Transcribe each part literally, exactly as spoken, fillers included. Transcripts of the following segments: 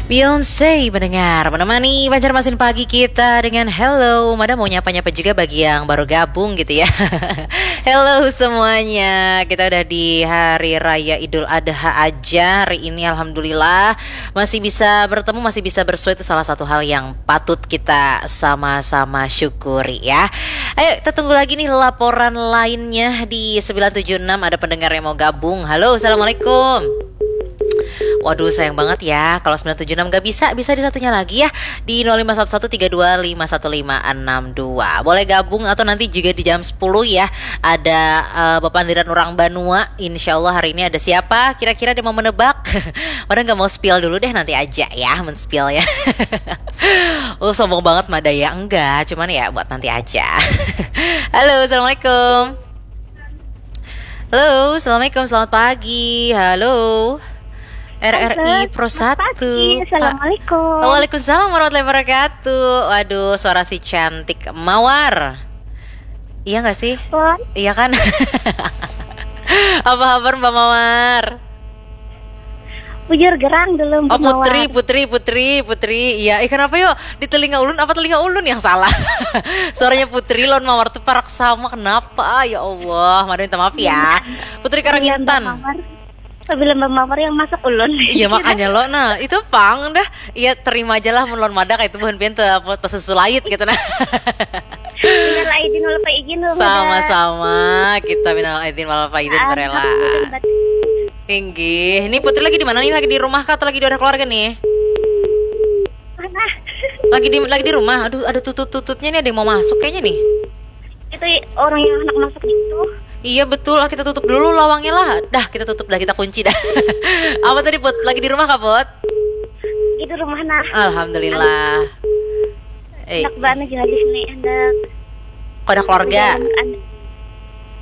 Beyonce mendengar menemani Banjarmasin pagi kita dengan hello. Mada mau nyapa-nyapa juga bagi yang baru gabung gitu ya. Hello semuanya. Kita udah di hari raya Idul Adha aja hari ini, alhamdulillah. Masih bisa bertemu, masih bisa bersua, itu salah satu hal yang patut kita sama-sama syukuri ya. Ayo kita tunggu lagi nih laporan lainnya di sembilan tujuh enam, ada pendengar yang mau gabung. Halo, assalamualaikum. Waduh, sayang banget ya, kalau sembilan tujuh enam gak bisa, bisa di satunya lagi ya, di nol lima satu satu tiga dua lima satu lima enam dua. Boleh gabung atau nanti juga di jam sepuluh ya, ada eh, bepandiran orang banua. Insya Allah hari ini ada siapa? Kira-kira dia mau menebak? Padahal nggak mau spill dulu deh, nanti aja ya, men-spill ya. Oh, sombong banget Madaya, enggak, cuman ya buat nanti aja. Halo, assalamualaikum. Halo, assalamualaikum, selamat pagi. Halo. R R I Halo, Pro selamat satu. Pagi. Pa- Assalamualaikum. Waalaikumsalam warahmatullahi wabarakatuh. Waduh, suara si cantik Mawar. Iya nggak sih? Wah, Iya kan? Apa kabar Mbak Mawar? Bujur gerang dulu. Oh, Putri, Putri, Putri, Putri. Iya, eh kenapa yuk? Di telinga ulun apa telinga ulun yang salah? Suaranya Putri lawan Mawar tuh parak sama. Kenapa? Ya Allah, mada minta maaf ya. Putri Karangintan. Apabila Mbak Mawar yang masak ulun. Iya, makanya lo, nah itu pang dah. Iya, terima aja lah mun lawan mada kayak itu buhan pian te, apa, tesusulait gitu nah. Minal aidin wal faizin. Sama-sama, kita minal aidin wal faizin, berela. Inggih, ini Putri lagi di mana nih? Lagi di rumah kah atau lagi di ada keluarga nih? Lagi di lagi di rumah. Aduh, ada tutut-tututnya nih, ada yang mau masuk kayaknya nih. Itu orang yang anak masuk itu. Iya betul, ah, kita tutup dulu lawangnya lah. Dah, kita tutup dah, kita kunci dah. Apa tadi, Put? Lagi di rumah kah, Put? Itu rumah nah. Alhamdulillah. Eh, anak bana juga di sini, anak. Kau ada keluarga? Anak, anak,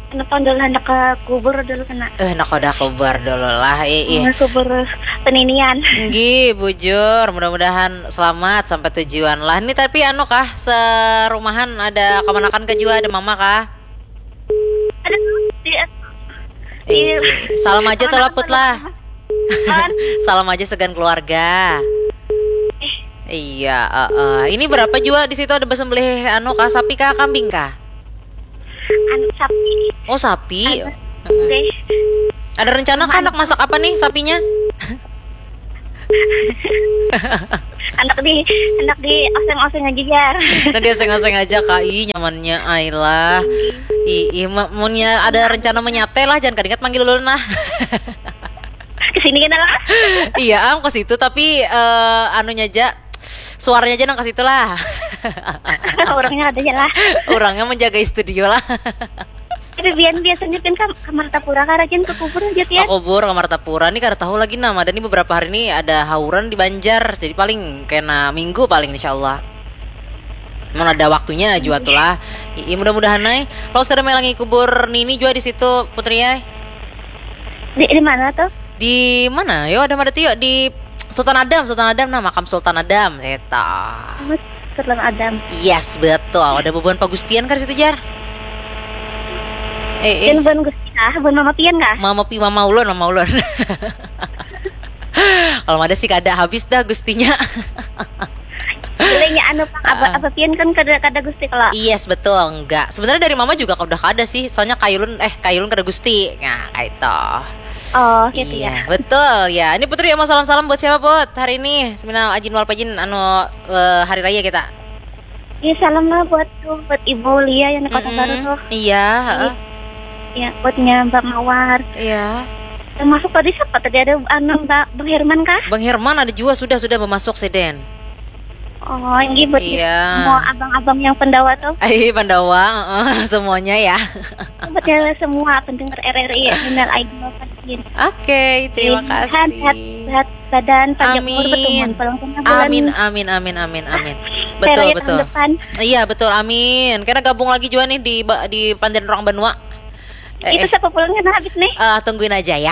anak tondol, anak ke kubur dulu kena. Eh, nak kau ada kubur dulu lah, eh, eh. Kubur peninian. Nggih, bujur. Mudah-mudahan selamat sampai tujuan lah. Ini tapi anu kah, serumahan ada kamanakan ke jua, ada mama kah? Ada di, eh, salam aja tuh laput lah. Salam aja segan keluarga. Eh. Iya, uh, uh. Ini berapa juga di situ ada bersembelih anu kah, sapi kah, kambing kah? Anu sapi. Oh, sapi. Ada. Ada rencana kah anak masak apa nih sapinya? Anak di anak di oseng-oseng aja ya. Nah, di oseng-oseng aja kak, ih nyamannya Ayla. Ih, ih munnya ada rencana menyate lah, jangan kadingat manggil ulun lah. Kesini kan lah. Iya, am ke situ tapi uh, anunya aja, suaranya aja nang ke situ lah. Orangnya ada aja lah. Orangnya menjaga studio lah. Tapi bian biasanya kan ke Martapura kah rajin ke kubur aja pian. Ke kubur, ke Martapura nih kada tahu lagi nah. Ada nih beberapa hari ini ada hauran di Banjar. Jadi paling kena minggu paling insyaallah. Mun ada waktunya jua tuh lah. Iya, mudah-mudahan ai. Lawas kada melangi kubur nini jua di situ Putri ai. Di, di mana tuh? Di mana? Yo ada mada tuh yo di Sultan Adam, Sultan Adam nah, makam Sultan Adam. Eta. Sultan Adam. Yes, betul. Ada bubuhan pagustian kan situ, Jar? Eh, eh. Bukan Gusti kah? Bukan Mama Pian kah? Mama Pi, Mama Ulun, Mama Ulun. Kalau ada sih kada habis dah gustinya. Bolehnya anu pang apa, apa Pian kan kada kada gusti kalau. Yes, betul, enggak. Sebenarnya dari mama juga udah kada sih. Soalnya kayulun eh kayulun kada gusti. Nah, kayak itu. Oh, gitu iya, ya. Betul ya. Ini Putri mau salam-salam buat siapa, Put? Hari ini seminal ajin wal pajin anu uh, hari raya kita. Iya, salam lah buat tuh buat Ibu Lia yang di Kota Baru tuh. Iya, heeh. Ya, buatnya Mbak Mawar. Iya. Termasuk tadi siapa tadi ada anu Mbak Bang Herman kah? Bang Herman ada juga sudah sudah memasuk sih Den. Oh, ini buat iya. Mau abang-abang yang pendawa tuh. Eh, pendawa, uh, semuanya ya. Buat semua pendengar R R I ya, minal aidin wal faizin. Oke, terima kasih. Sehat, sehat badan, panjang umur, bertemu pulang kena bulan. Amin, amin, amin, amin, amin. Betul, betul. Iya, betul, amin. Karena gabung lagi juga nih di di Pandan Orang Banua. Eh, itu eh. Siapa pulangnya nah habis nih? Uh, tungguin aja ya.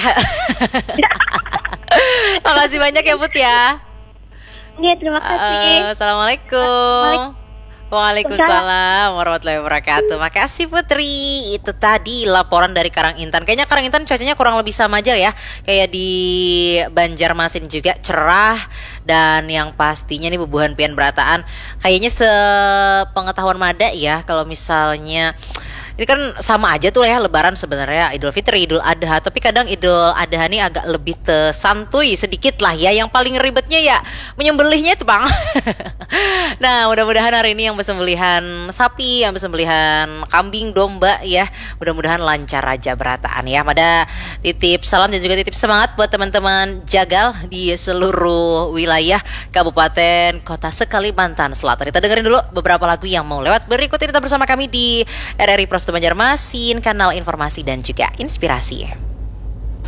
Makasih banyak ya Put ya. Iya, terima kasih. Uh, assalamualaikum. Waalaikumsalam warahmatullahi wabarakatuh. Makasih Putri. Itu tadi laporan dari Karang Intan. Kayaknya Karang Intan cuacanya kurang lebih sama aja ya. Kayak di Banjarmasin juga cerah dan yang pastinya nih bubuhan pian berataan. Kayaknya sepengetahuan mada ya kalau misalnya ini kan sama aja tuh ya lebaran sebenarnya Idul Fitri, Idul Adha, tapi kadang Idul Adha nih agak lebih te santuy sedikit lah ya. Yang paling ribetnya ya menyembelihnya itu bang. Nah, mudah-mudahan hari ini yang bersembelihan sapi, yang bersembelihan kambing, domba ya, mudah-mudahan lancar aja berataan ya. Mada titip salam dan juga titip semangat buat teman-teman jagal di seluruh wilayah kabupaten kota sekalimantan selatan. Kita dengerin dulu beberapa lagu yang mau lewat berikut ini, tetap bersama kami di R R I Pro Studio Banjarmasin, kanal informasi dan juga inspirasi.